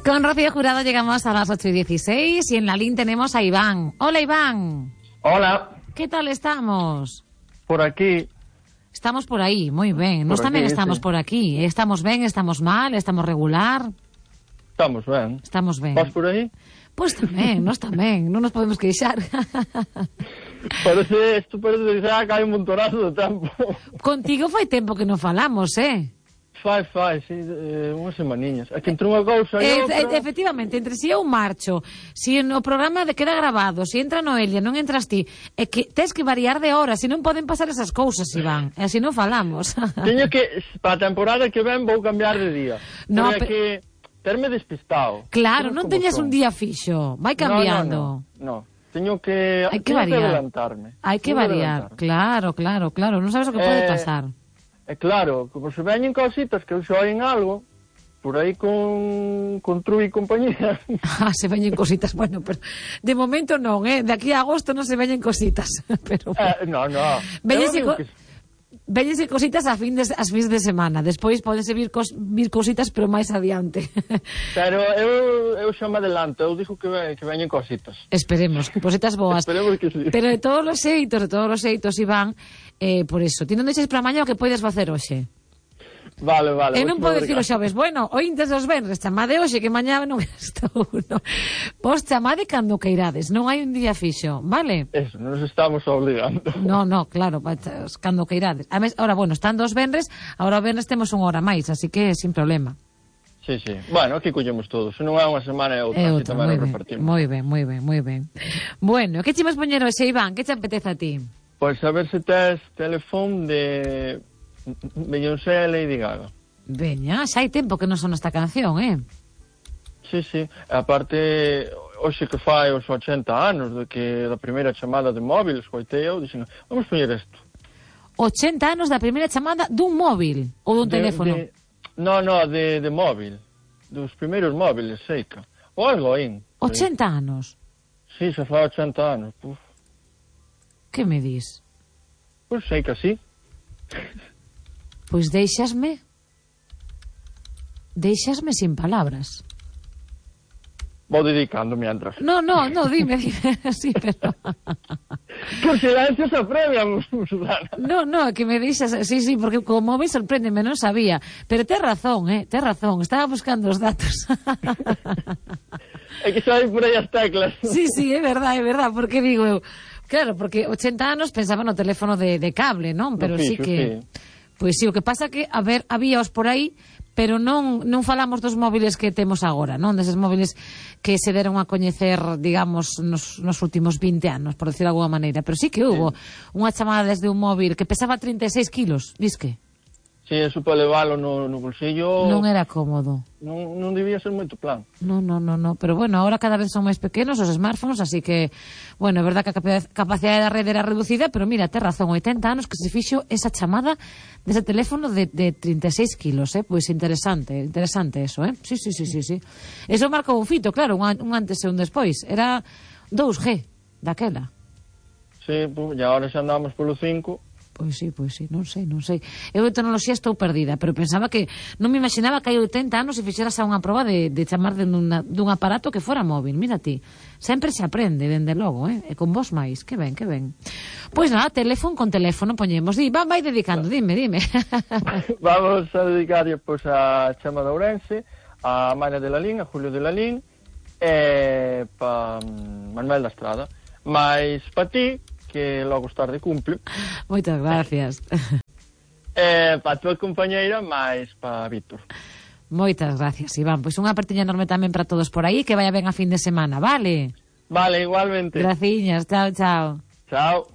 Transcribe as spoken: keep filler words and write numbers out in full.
Con Rocío Jurado llegamos a las ocho y dieciséis y en la línea tenemos a Iván. Hola, Iván. Hola. ¿Qué tal estamos? Por aquí. Estamos por aí, moi ben. Nós tamén estamos sí. por aquí. Estamos ben, estamos mal, estamos regular. Estamos ben. Estamos ben. Vas por aí? Pois pues tamén, nós tamén. Non nos podemos queixar. Parece, isto parece que hai un montonazo de tempo. Contigo fai tempo que non falamos, eh? Fai, fai, sí, eh, unhas semaniñas. É que entre unha cousa e e outra... E, efectivamente, entre si eu marcho, si no programa de queda grabado, si entra Noelia, non entras ti, é que tes que variar de hora, si non poden pasar esas cousas, Iván, e así non falamos. Teño que, para a temporada que ven, vou cambiar de día. No, pero é que terme despistado. Claro, non teñas un día fixo, vai cambiando. No, no, no. Teño que, hai que teño variar. que adelantarme. Hai que variar, claro, claro, claro, non sabes o que eh... pode pasar. É claro, como se veñen cositas que se oyen algo, por aí con, con True e compañía. Ah, se veñen cositas, bueno, pero de momento non, eh? De aquí a agosto non se veñen cositas. Pero, eh, no, no. Veñense co que... Veñense cositas a fin de, as fins de semana. Despois podense vir, cos, vir cositas, pero máis adiante. Pero eu, eu xa me adelanto, eu digo que, ve, que veñen cositas. Esperemos, cositas boas. Esperemos que sí. Pero de todos os xeitos, de todos os xeitos, Iván, eh, por eso, ti non deixes para mañá o que podes facer hoxe. Vale, vale. E non podes dicir os xoves, bueno, ointes os venres, chamade hoxe que mañá non estou, no. Vos chamade cando queirades, non hai un día fixo, vale? Eso, non nos estamos obligando. No, no, claro, cando queirades. A mes, ahora, bueno, están dos venres, ahora o venres temos unha hora máis, así que sin problema. Sí, sí. Bueno, aquí collemos todos, se non é unha semana é outra, é outra, tamén nos repartimos. Moi ben, moi ben, moi ben. Bueno, que chimas poñer hoxe, Iván? Que te apetece a ti? Pois a ver se tes teléfono de Beyoncé e Lady Gaga. Veña, xa hai tempo que non son esta canción, eh? Sí, sí. Aparte, hoxe que fai os ochenta anos de que da primeira chamada de móvil, escoitei eu, dixen, vamos poñer isto. ochenta anos da primeira chamada dun móvil ou dun de, teléfono? De, no, no, de, de móvil. Dos primeiros móviles, seica. Ou algo aí. ochenta anos? Sí, xa fai ochenta anos. Puf. Que me dis? Pois sei que sí. Pois deixasme... Deixasme sin palabras. Vou dedicando mientras. No, no, no, dime, dime, sí, pero... Con silencio se apremian, Susana. No, no, que me deixas, sí, sí, porque como me sorprendeme, non sabía. Pero tes razón, eh, tes razón, estaba buscando os datos. É que xa hai por aí as teclas. Sí, sí, é verdad, é verdad, porque digo eu... Claro, porque ochenta anos pensaba no teléfono de, de cable, non? Pero no, sí que... Sí. Pois sí, o que pasa que, a ver, habíaos por aí, pero non non falamos dos móviles que temos agora, non? Deses móviles que se deron a coñecer, digamos, nos, nos últimos vinte anos, por decir de alguma maneira. Pero sí que hubo sí. unha chamada desde un móvil que pesaba trinta e seis kilos, disque. Sí, eso para leválo no, no bolsillo... Non era cómodo. Non, non debía ser moito plan. Non, non, non, non, pero bueno, ahora cada vez son máis pequenos os smartphones, así que, bueno, é verdad que a capacidade da rede era reducida, pero mira, ten razón, oitenta anos que se fixo esa chamada dese teléfono de, de trinta e seis kilos, eh? Pois interesante, interesante eso, eh? Sí, sí, sí, sí, sí. Eso marcou un fito, claro, un, un antes e un despois. Era dous G daquela. Sí, pues, e agora xa andamos polo cinco... Pois sí, pois sí, non sei, non sei. Eu de tecnoloxía estou perdida, pero pensaba que non me imaginaba que hai oitenta anos e fixeras a unha proba de, de chamar de una, dun aparato que fora móvil. Mira ti, sempre se aprende, dende logo, eh? E con vos máis, que ben, que ben. Pois nada, teléfono con teléfono poñemos. Di, vai, vai dedicando, dime, dime. Vamos a dedicar pois, a Chema de Ourense, a Maria de Lalín, a Julio de Lalín, e pa Manuel da Estrada. Mais pa ti, que logo tarde cumple. Moitas gracias. Eh, para a tua compañeira, máis para Víctor. Moitas gracias, Iván. Pois unha partiña enorme tamén para todos por aí, que vaya ben a fin de semana, vale? Vale, igualmente. Graciñas, chao, chao. Chao.